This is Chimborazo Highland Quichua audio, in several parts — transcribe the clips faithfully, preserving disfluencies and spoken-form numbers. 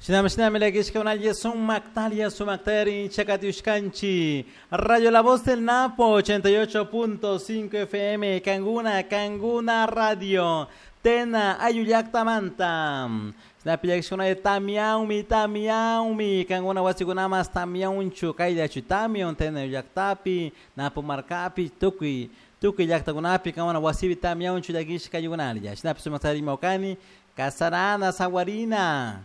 Shinami shinami llakishkakunalla sumaktalia sumaktari chakatiushkanchi Radio La Voz del Napo ochenta y ocho punto cinco F M Kanguna Kanguna Radio Tena Ayullactamanta Sinapi llakishkakunalla tamiaumi tamiaumi Kanguna wasikunamas tamiaunchu kayllachu tamion Tena Ayullactapi Napo markapi tukuy tukuy llaktakunapi Kanguna wasipi tamiaunchu llakishkaykunalla Sinapi sumaktari mawkani Kasarana Sawarina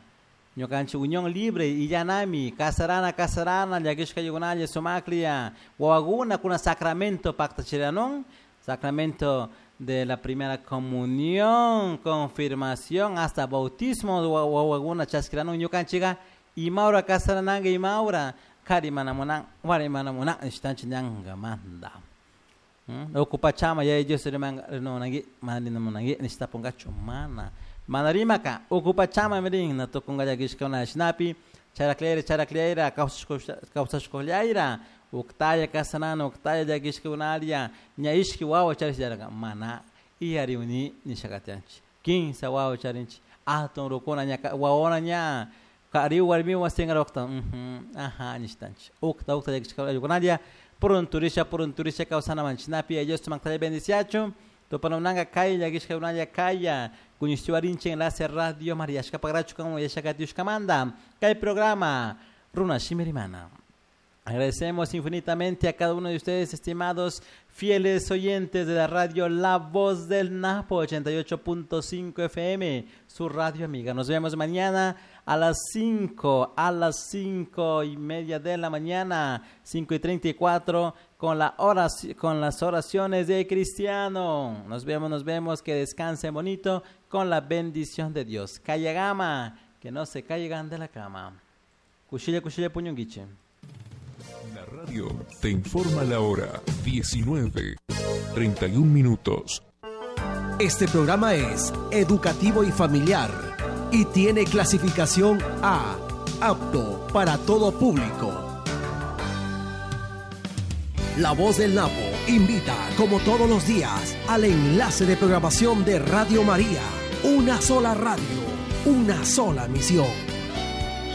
Ñukanchik Unión Libre y Yanami, Kasarana, Kasarana, llakishkaykunalla, sumaklia, wawakuna kuna sacramento pactachiranon, sacramento de la primera comunión, confirmación, hasta bautismo, wawakuna chaskiranon, ñukanchika, imaura kasarananga, imaura, kari manamunan, wari manamunan, ishtanchi ñanga manda. Okupachama, yaya Dios rimanga, rinonangi, manarinamunangi, nishtapungachu mana. Manarimaka, ocupa chama mirin, na tokunga llakishkuna shinapi, characleira, characleira, kawsashkullaira, uktaya kasanana, uktaya llakishkunaria, ña ishki wawa charisharaka, mana, iyariuni nishakatianchi. Kinsa wawa charinchi, atun rukuna ña, wawona ña, kariu warmiwan singarokta, ajá, nishtanchi. Ukta, ukta llakishkunaria, purunturisha, purunturisha kawsanaman shinapi, Dios tumaktaya bendiciachu, tupanunanga kaya llakishkunalla kaya, Kuñishtiwarinche enlace Radio María Shkapagrachu como Yashakatiushkamanda. Kay programa Runa Shimirimana. Agradecemos infinitamente a cada uno de ustedes, estimados fieles oyentes de la radio La Voz del Napo ochenta y ocho punto cinco F M, su radio amiga. Nos vemos mañana a las cinco, a las cinco y media de la mañana, cinco y treinta y cuatro, con la oraci-, con las oraciones de Cristiano. Nos vemos, nos vemos, que descansen bonito con la bendición de Dios. Cayagama, que no se caigan de la cama. Cuchilla, cuchilla, puñonguiche. La radio te informa la hora diecinueve, treinta y un minutos. Este programa es educativo y familiar y tiene clasificación A, apto para todo público. La Voz del Napo invita, como todos los días, al enlace de programación de Radio María. Una sola radio, una sola misión.